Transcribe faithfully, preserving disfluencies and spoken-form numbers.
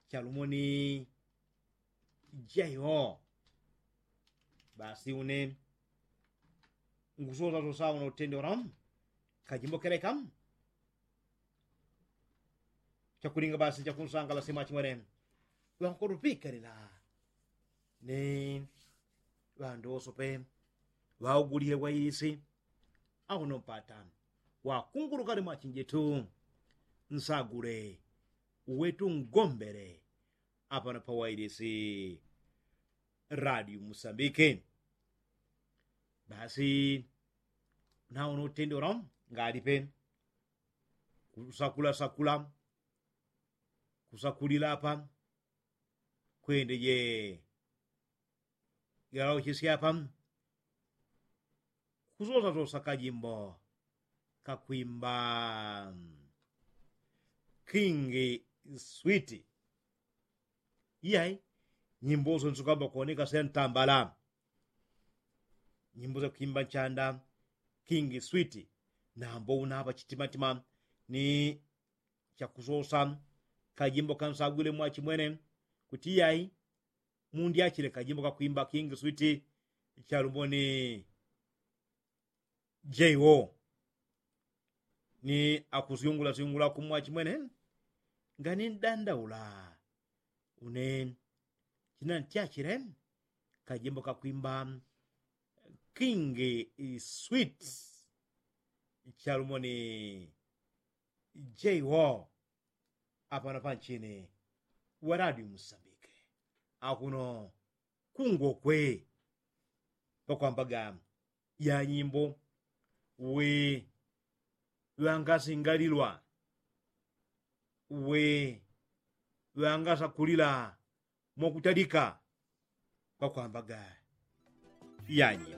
chalumoni jaiwo. Basi une ngusosasosa uno utende uramu kajimbo keleka chakulinga basi chakunsangala simachimwene. Ŵankotupikalila ni ŵandosope ŵaugulile waisi. Auno mpata wakungulukale mwachinjetu nsagule uwetu ngombele apano pawailisi radio musambike. Basi nauno utendolo ngalipe kusakula sakula kusakulila apa kwende je yalauchesya apa kusosasosa kajimbo kakwimba kingi switi. Iyai nyimbo sonso kamba kuoneka sentambala nyimbo sakwimba nchanda kingi switi. Nambo unapa chitimatima ni chakusosa kajimbo kansagwile mwachimwene kuti iyai mundyachile kajimbo kakwimba kingi switi chalumboni jeiwo ni akusyungulasyungula kumwachimwene. Ngani ndandaula une chinantyachile kajimbo kakwimba kingi switi chalumboni jeiwo apano panchini waradi musambike akuno kungokwe pakwambaga ya nyimbo we ŵangasingalilwa we ŵangasakulila mwakutalika pakwambaga ya nyimbo.